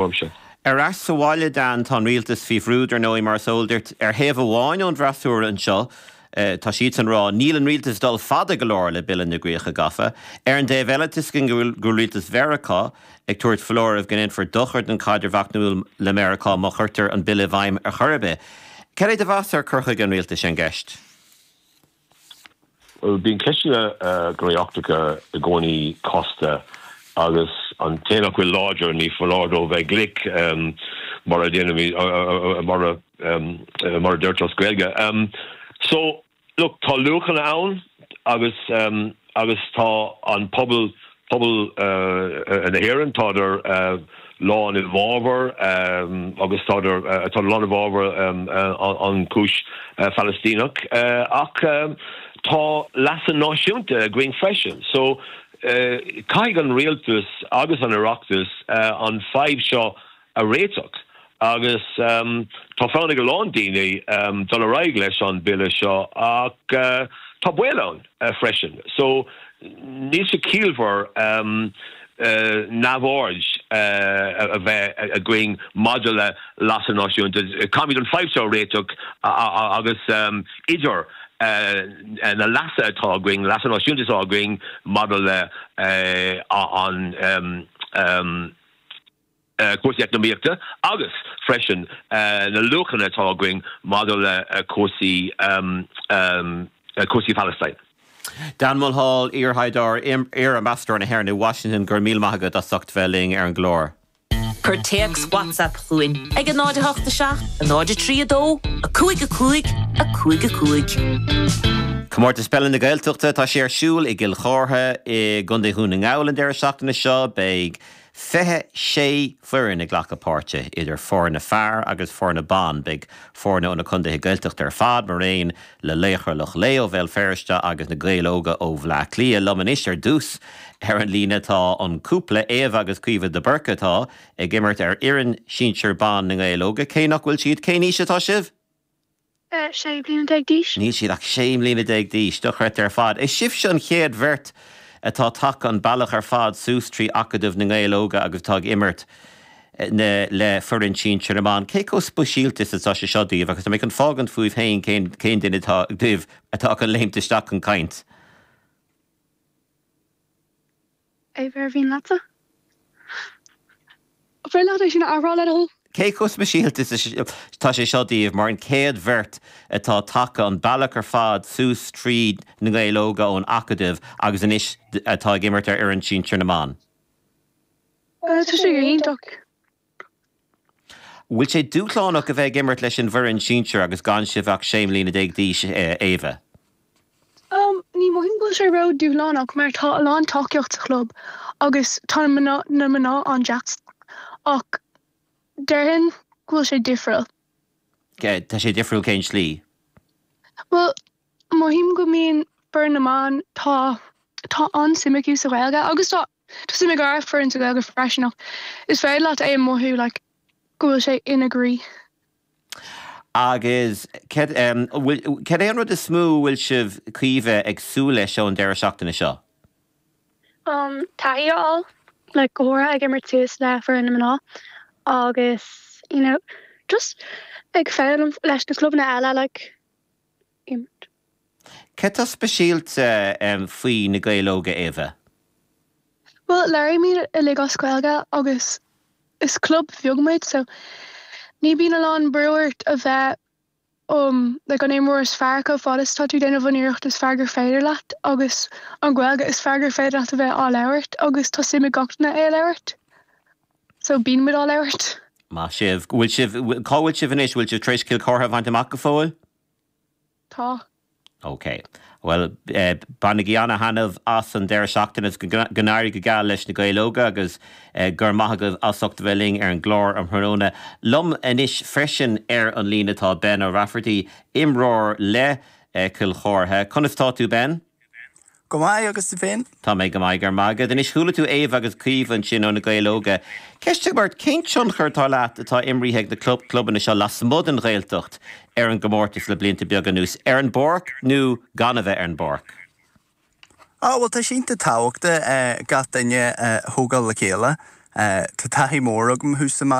Uaimse. Ar ais sa bhaile, Dan, tá an rialtas faoi bhrú, dar ndóigh, mar is eol duit. Ar thaobh amháin ón bhfreasúra anseo, tá siadsan ag rá, níl an rialtas ag dul fada go leor le Bille na gCríocha Gafa. Ar an dtaobh eile, tá a fhios againn go bhfuil rialtas Mheiriceá ag tabhairt foláirimh go ndéanfar dochar don chaidreamh eacnamúil le Meiriceá má chuirtear an bille i bhfeidhm ar chor ar bith. Cad é do mheas ar cur chuige an rialtais ar an gceist? Bhuel, bíonn ceisteanna gnóthaí eachtracha i gcónaí casta agus an té nach bhfuil láidir, ní foláir dó bheith glic, mar a déanaimid, mar a, mar a deirtear as Gaeilge. So, look, tá luachanna ann agus, agus tá an pobal, Pobal na hÉireann, tádar lán i bhfabhar agus tádar tá lán i bhfabhar an chúis Phalaistíneach ach tá leasa náisiúnta againn freisin. So caithfidh an rialtas agus an Oireachtas an fadhb seo a réiteach agus tá fonn ag a lán daoine dul ar aghaidh leis an bille seo ach tá baol ann freisin so níl sé ciallmhar neamhaird a bheith againn maidir le leasa náisiúnta. Caithfimid an fadhb seo a réiteach agus idir na leasa atá againn, leasa náisiúnta atá againn maidir le an cúrsaí eacnamaíochta agus freisin na luachanna atá againn maidir le cúrsaí cúrsaí Palestine. Dan Mulhall, iar-thaighdeoir, iar-ambasadóir na hÉireann i Washington, go raibh míle maith agat as ucht bheith linn ar an gclár. Cuir téacs WhatsApp chugainn ag 0 8 7 0 3 2 5 5 5 5. Comórtas Peile na Gaeltachta, tá sé ar siúl i gCill Chártha i gContae Dhún na nGall an deireadh seachtaine seo. Beidh 26 foireann ag glacadh páirte, idir foirne fear agus foirne ban. Beidh foirne ó na contaetha Gaeltachta ar fad, maraon le Laochra Loch Lao ó Bhéal Feirste agus na Gaeil Óga ó Bhleá Cliath. Liom anois ar dtús ar an líne tá an cúpla, Éabha agus Caoimhe de Búrca atá ag imirt ar fhoireann sinsir ban na nGael Óga. Cé nach bhfuil siad, cén aois atá sibh? 16 bliana d'aois. Níl siad ach 16 mbliana d'aois. Dochreidte ar fad. Is sibhse an chéad bheirt atá tagtha an bealach ar fad suas trí Acadamh na nGael Óga agus atá ag imirt le foireann sinsir na mban. Cé chomh speisialta is atá sé seo daoibh? Agus tá mé chun fágaint fúibh féin cén cén duine atá díobh atá chun léimt isteach chun caint. Éabha, ar mhian leatsa? An féidir leat é sin a athrá le do thoil? Cé chomh speisialta is atá sé seo daoibh mar an chéad bheirt atá tagtha an bealach ar fad suas tríd na Gaeil Óga ón Acadamh agus anois atá ag imirt ar fhoireann sinsir na mban? Tá sé go hiontach. Bhfuil sé dúshlánach a bheith ag imirt leis an bhfoireann sinsir agus gan sibh ach 16 mbliana d'aois, Éabha? Ní mothaím go bhfuil sé ró-dúshlánach mar tá a lán tacaíocht sa chlub agus tá na mná an-deas ach déarfainn go bhfuil sé difriúil. Tá sé difriúil cén slí? Bhuel, mothaím go mbíonn foireann na mban, tá tá an-suim acu sa Ghaeilge agus tá tá suim ag ár foireann sa Ghaeilge freisin ach is féidir leat é a mothú like go bhfuil sé ina gcroí. Agus cad é an rud is mó a bhfuil sibh, Caoimhe, ag súil leis ón deireadh seachtaine seo? Taithí a fháil, like go háirithe ag imirt suas le foireann na mná agus you know just ag foghlaim leis na clubanna eile like imirt. Cad tá speisialta faoi na Gaeil Óga, Éabha? Bhuel, labhraímid uilig as Gaeilge agus is club bheag muid so ní bíonn a lán brú ort a bheith um like an imreoir is fearr chomh fada is tá tú déanamh an iarracht is fearr gur féidir leat agus an Ghaeilge is fearr gur féidir leat a bheith á labhairt agus tá suim ag gach duine é a labhairt so bíonn muid á labhairt. Maith sibh. Bhfuil sibh, cá bhfuil sibh anois? Bhfuil sibh tar éis Cill Chártha a bhaint amach go fóill? Tá. Ok. Bhuel, bainigí ana-thaitneamh as an deireadh seachtaine agus go n-éirí go geal leis na Gaeil Óga agus go raibh maith agaibh as ucht a bheith linn ar an gclár um thráthnóna. Liom anois freisin ar an líne tá Ben O'Rafferty, imreoir le Cill Chártha. Conas tá tú Ben? Go maith, agus tú féin? Tá mé go maith, go raibh maith agat. Anois, chuala tú Éabha agus Caoimhe ansin ó na Gaeil Óga. Ceist agam ort, cén tionchar atá leat atá imrithe ag na clubanna seo lasmuigh den Ghaeltacht ar an gcomórtas le blianta beaga anuas, ar an bpáirc nó gan a bheith ar an bpáirc? Á, bhuel, tá sé iontach tábhachtach gach duine a thógáil le chéile. Tá taithí mór agam thuas sa.